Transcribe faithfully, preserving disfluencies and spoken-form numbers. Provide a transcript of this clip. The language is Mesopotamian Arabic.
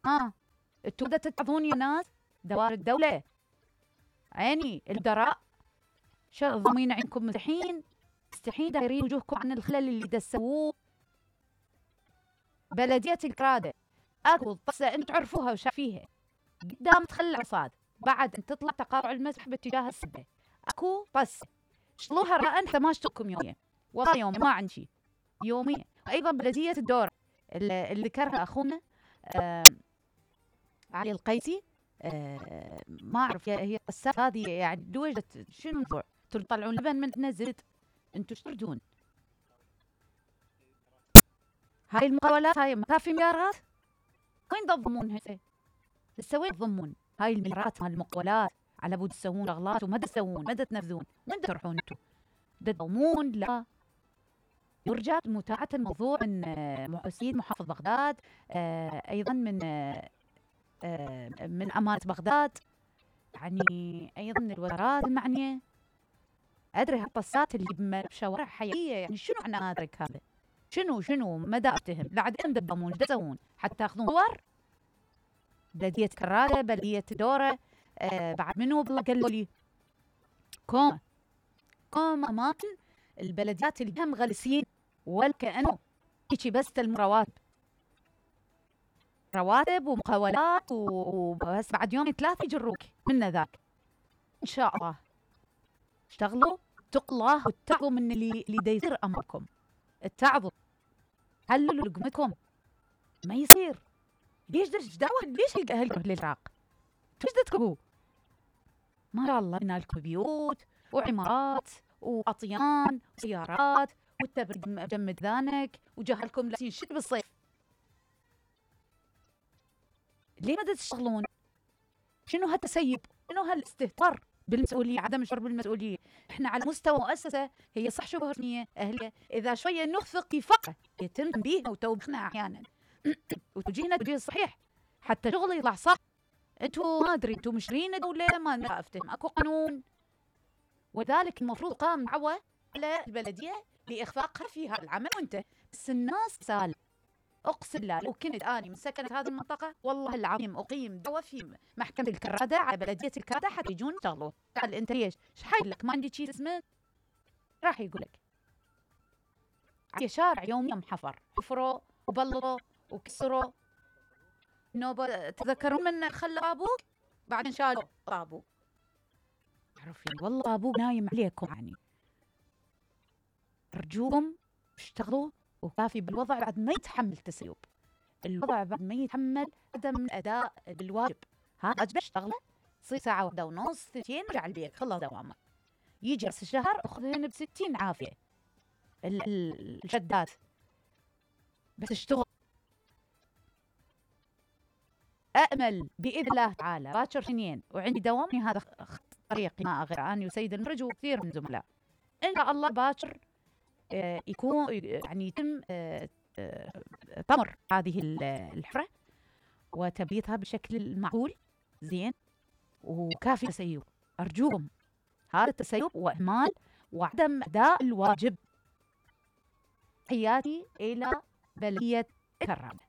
ها انتوا بدأ تتعظون يا ناس دوائر الدولة، عيني المدراء شغل ضمين عينكم مستحين مستحين دايرين وجوهكم عن الخلل اللي دسووه. بلدية الكرادة اكو طسة انتوا تعرفوها وشايفيها قدام مدخل العصاد، بعد ان تطلع تقاطع المسح باتجاه السبة اكو طسة شلوها رأى ثماشتكم يوميا، والله يوم ما عندي شيء يوميا. ايضا بلدية الدورة اللي ذكرها اخونا آه علي القيسي، آه ما اعرف هي القصات هذه يعني دوجة شنو الموضوع؟ انتوا تطلعون لبن من عندنا زيت، انتوا ايش تردون؟ هاي المقاولات هاي ما في مليارات، وين تضمون هسه؟ هسه وين تضمون هاي المليارات مال المقاولات على بود تسوون شغلات وما تسوون ما تنفذون، وين تروحون انتوا؟ تضمون لا. يرجى متابعة الموضوع من سيد محافظ بغداد، آه ايضا من آه من امانة بغداد، يعني ايضا من الوزارات المعنية. ادري هالطسات اللي بشوارع حيوية يعني شنو معنى هذا هذا؟ شنو شنو مدى اتهم لعدين تضمون ايش تسوون حتى تاخذون صور؟ بلدية كرادة، بلدية دورة، آه بعد منو بالله قالوا لي كوما كوما اماكن البلديات اللي هم غلسين والكأنه هيجي بس المرواتب رواتب ومقاولات وبس بعد يومين ثلاثة يجروك من ذاك. ان شاء الله اشتغلوا اتقوا الله واتقوا من اللي اللي داير امركم، اتعظوا حللوا لقمتكم ما يصير. ليش درج دعوة ليش اهلكم للعراق؟ ايش تكبوا؟ ما شاء الله ينالكم بيوت وعمارات واطيان وسيارات والتبريد مجمد ذانك وجهلكم لابسين شد بالصيف. ليه ما تشتغلون؟ شنو هالتسيب؟ شنو هالاستهتار بالمسؤولية، عدم الشعور بالمسؤولية؟ احنا على مستوى مؤسسة هي صح شبهة أهلية، إذا شوية نخفق في فقه يتم تنبيهنا وتوبيخنا أحيانا وتوجيهنا التوجيه الصحيح حتى شغل يطلع صح. انتوا ما ادري انتوا مشرين دولة ما افتهم اكو قانون، وذلك المفروض قام دعوة على البلدية لإخفاقها في هذا العمل وانت بس الناس سال. اقسم بالله لو كنت اني من سكنة هذه المنطقة والله العظيم اقيم دعوة في محكمة الكرادة على بلدية الكرادة حتى يجون يشتغلوا. قال انت ليش؟ ايش حايل لك ما عندي شيء اسمه؟ راح يقول لك على شارع يوميا محفر، حفروا وبلطوا وكسروا. نوبة تذكرون من خلى ابوك بعدين شالوا ابوك، عرفين والله ابوك نايم عليكم. يعني ارجوكم اشتغلوا وكافي بالوضع بعد ما يتحمل تسيب، الوضع بعد ما يتحمل عدم الاداء بالواجب. ها واجب اشتغله تصير ساعه واحده ونص ثنتين ارجع البيت خلص دوامك، يجي راس الشهر اخذهن بستين عافيه الشدات بس اشتغل. أأمل بإذن الله تعالى باكر اثنين وعندي دوامي هذا طريقي ما أغير عني وسيد المرج وكثير من زملاء إن شاء الله باكر يكون يعني يتم طمر هذه الحفرة وتبييتها بشكل المعقول زين وكافي تسيب. أرجوكم هذا التسيب وإهمال وعدم أداء الواجب. حياتي إلى بلدية كرادة.